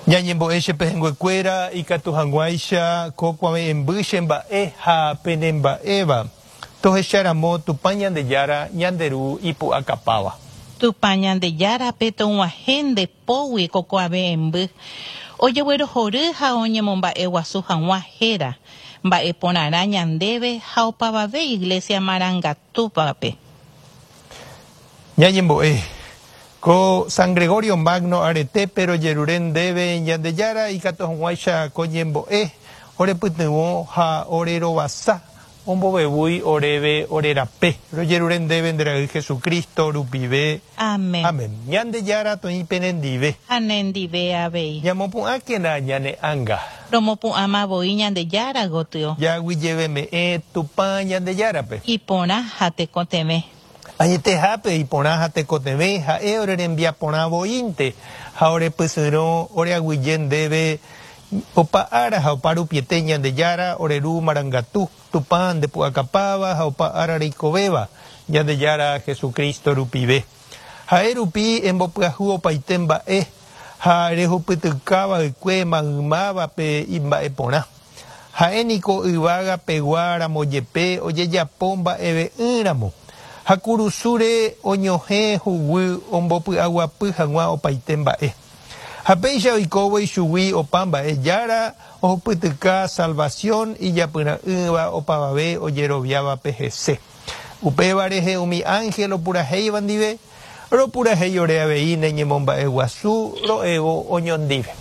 Ñañembo'e che pehẽnguekuéra ikatu hag̃uáicha ko kuave'ẽmby che mba'e ha pene mba'éva, tohecharamo Tupã Ñandejára ñande Ru ipu'akapáva. Tupã Ñandejárape tog̃uahẽ nde pógui ko kuave'ẽmby, ojeguerohory ha oñemomba'eguasu hag̃ua héra, mba'e porãrã ñandéve ha opavave Iglesia marangatúvape. Ñañembo'e, Ko San Gregorio Magno aretépe rojerure ndéve Ñandejára ikatu hag̃uáicha ko ñembo'e orepytyvõ ha orerovasa ombovevúi oréve ore rape. Rojerure ndéve nde Ra'y Jesucristo rupive. Amén. Amén. Ñandejára toĩ penendive. Ha nendive avei. Ñamopu'ãkena ñane ánga. Romopu'ãma voi Ñandejára gotyo. Jaguyjeveme'ẽ Tupã Ñandejárape. Iporã ha tekotevẽ. Añetehápe iporã ha tekotevẽ ha'e ore rembiaporã voínte ha ore pysyrõ ore aguyje ndéve opa ára ha opa rupiete Ñandejára ore Ru marangatu, Tupã nde pu'akapáva ha opa ára reikovéva, Ñandejára Jesucristo rupive. Ha'e rupi embopyahu opaite mba'e ha rehupytyka va'ekue maymávape imba'e porã. Ha'e niko yvága pegua ramo jepe ojejapo mba'eve'ỹ ramo, ha kurusúre oñohẽ huguy ombopy'aguapy hag̃ua opaite mba'e. Ha péicha oikóvo ichugui opa mba'e Jára ohupytyka salvación ijapyra'ỹva opavave ojeroviávape hese. Upéva rehe umi ángel opurahéiva ndive, ropurahéi ore avei ne ñemomba'eguasu ro'évo oñondive.